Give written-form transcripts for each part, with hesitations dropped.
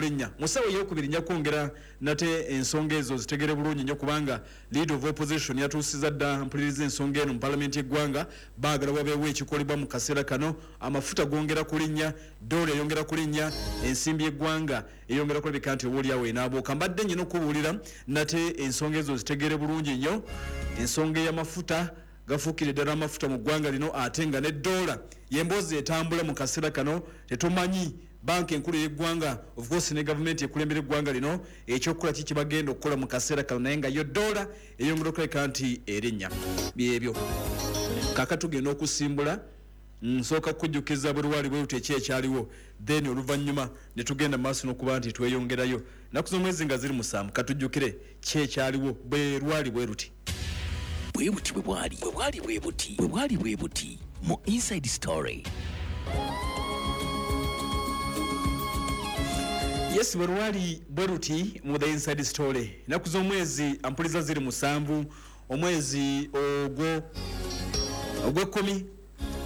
Okulinnya mu ssaawa eyokubiri nja kwongera nate ensonga ezo zitegere bulungi nnyo, kubanga leader of opposition yatuusiza dda mpuliriza ensonga eno mu palamenti y'eggwanga. Baagala wabeewo ekikolebwa mu kaseera kano. Amafuta gongera kulinnya, doola eyongera kulinnya, ensimbi y'eggwanga eyongera kulabika nti oba oliawo enaabuuka. Mbadde nyina okubuulira nate ensonga ezo zitegere bulungi nnyo. Ensonga ey'amafuta gafuukire ddala amafuta mu ggwanga lino, ate nga ne doola yemboozi etambula mu kaseera kano. Tetumanyi banka enkulu ey'eggwanga, of course, ne gavumenti ekulembera eggwanga lino ekyokukola ki kibagenda okukola mu kaseera kano, naye nga yo doola eyongera okulabika nti erinnya. Byebyo kaka tugenda okusimbula. Nsooka kukujjukiza bwe lwali bwe luti eki ekyaliwo, then oluvannyuma ne tugenda maaso n'okuba nti tweyongerayo. Nnaku z'omwezi nga ziri 7, katujjukire ki ekyaliwo bwe lwali bwe luti. Bwe buti bwe bwali, bwe bwali bwe buti, bwe bwali bwe buti mu Inside Story. Yes, bwe lwali bwe luti mu The Inside Story. Ennaku z'omwezi ampuliza ziri 7, omwezi ogwo ogw'ekkumi,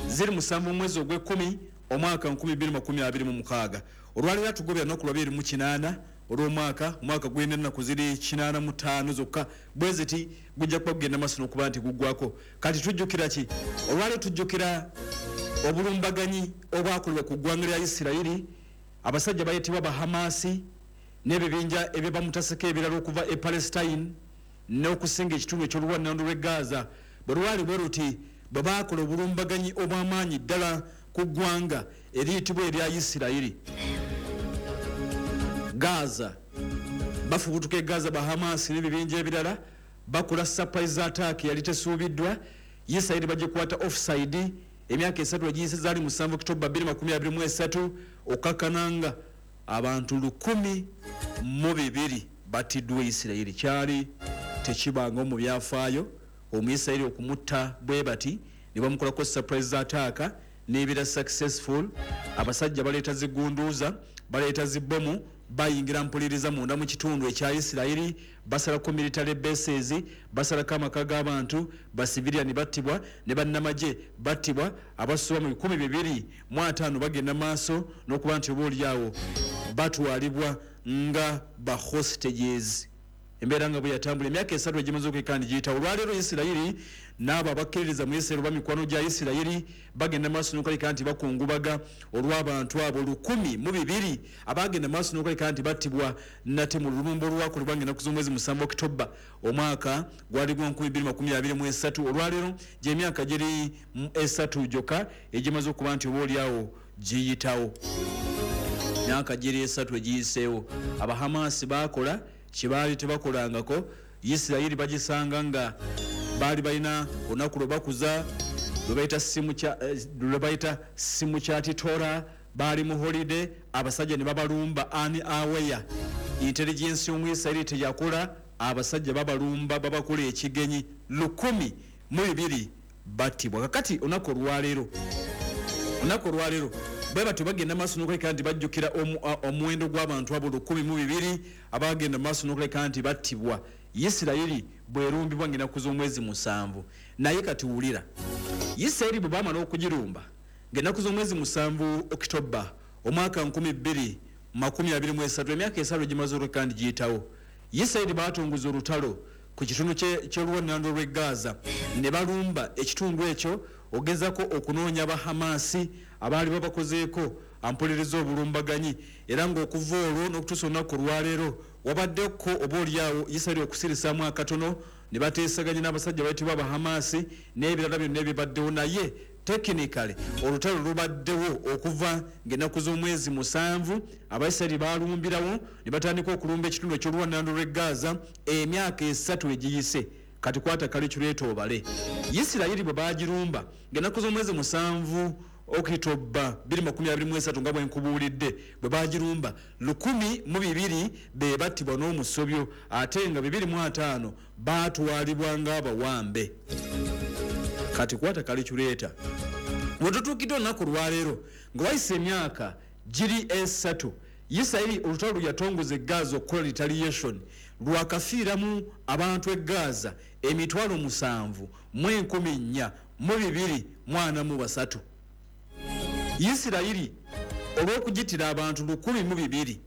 ziri 7 omwezi ogw'ekkumi omwaka 2026. Olwaleero atugobera lunaku lwa 28 olw'omwaka, omwaka gulina ennaku ziri 85 zokka, bwe ziti gujja kuba gugenda maaso n'okuba nti guggwako. Kati tujjukira ki olwaleero? Tujjukira obulumbaganyi obwakolebwa ku ggwanga lya Isirayiri. Abasajja bayitibwa Bahamasi n'ebibinja ebyebamutaseko ebirala okuva e Palestine n'okusinga ekitundu eky'oluwannandu lw'e Gaza, bwe lwali bwe luti bwe baakola obulumbaganyi obw'amaanyi ddala ku ggwanga eriyitibwa erya Isirayiri. Gaza bafubutuka e Gaza, Bahamasi n'ebibinja ebirala bakola surprise attack yali tesuubiddwa. Isirayiri bagikwata offside. Emyaka 3 egiyise, zaali 7 Okitoba 2023, okakkananga abantu 1,002 battiddwa Isirayiri. Kyali tekibangawo mu byafaayo Omuyisirayiri okumutta bwe bati ne bamukolako surprise attack n'ebeera successful. Abasajja baleeta zigunduuza, baleeta zibbomu, bayingira mpuliriza munda mu kitundu ekya Isirayiri, basalako military bases, basalako amaka g'abantu, basiviliani battibwa ne bannamagye battibwa abasoba mu 250, bagenda maaso n'okuba nti oba oliawo batwalibwa nga ba hostages. Embeera nga bwe yatambula emyaka 3 egimaze okweka ndi giyita. Olwaleero Isirayiri n'abo abakkiririza mu Isirayiri oba mikwano gya Isirayiri bagenda maaso n'okulabika nti bakungubaga olw'abantu abo 1,002 abagenda maaso n'okulabika nti battibwa nate mu lulumba olwakolebwa ng'ennaku z'omwezi 7 Okitoba omwaka gwali gwa 2023. Olwaleero gy'emyaka giri 3 gyokka egimaze okuba nti oba oliawo giyitawo, myaka giri 3 egiyiseewo. Abahamasi baakola kyebaali tebakolangako. Isirayiri bagisanga nga baali balina olunaku lwe bakuza lwe bayita Simukyati Tora, baali mu holiday, abasajja ne babalumba unaware. Intelligence y'Omuyisirayiri teyakola. Abasajja babalumba, babakola ekigenyi, 1,002 battibwa. Kakati olunaku olwaleero bwe batyo bagenda maaso n'okuleka nti bajjukira omuwendo gw'abantu abo 1,002 abagenda maaso n'okuleka nti battibwa Isirayiri bwerumbibwa ng'ennaku z'omwezi 7. Naye kati wulira, Isirayiri bwe bamala okugirumba ng'ennaku z'omwezi 7 Okitoba omwaka 2023, emyaka 3 egimaze okuleka nti giyitawo, Isirayiri batongoza olutalo ku kitundu ky'oluwannando lw'e Gaza ne balumba ekitundu ekyo ogezako okunoonya Abahamasi abaali babakozeeko ampuliriza obulumbaganyi. Era ng'okuva olwo n'okutuusa olunaku olwaleero wabaddeko oba oliawo Isirayiri okusirisaamu akatono ne bateesaganya n'abasajja bayitibwa Abahamasi n'ebirala byonna ebibaddewo, naye technically olutalo lubaddewo okuva ng'ennaku z'omwezi 7 Abaisirayiri balumbirawo ne batandika okulumba ekitundu eky'oluwannando lw'e Gaza emyaka 3 egiyise. Kati kwata calculator obale. Isirayiri bwe bagirumba ng'ennaku z'omwezi 7 Okitoba 2023, nga bwe nkubuulidde, bwe bagirumba 1,002 be battibwa n'omusobyo, ate nga 250 baatwalibwa ng'abawambe. Kati kwata calculator, bwe tutuukidde olunaku lwaleero nga wayise emyaka giri 3, Isirayiri olutalo lwe yatongoza e Gaza okukola retaliation lwakafiiramu abantu e Gaza 7,443. Isirayiri olw'okugitira abantu 1,002.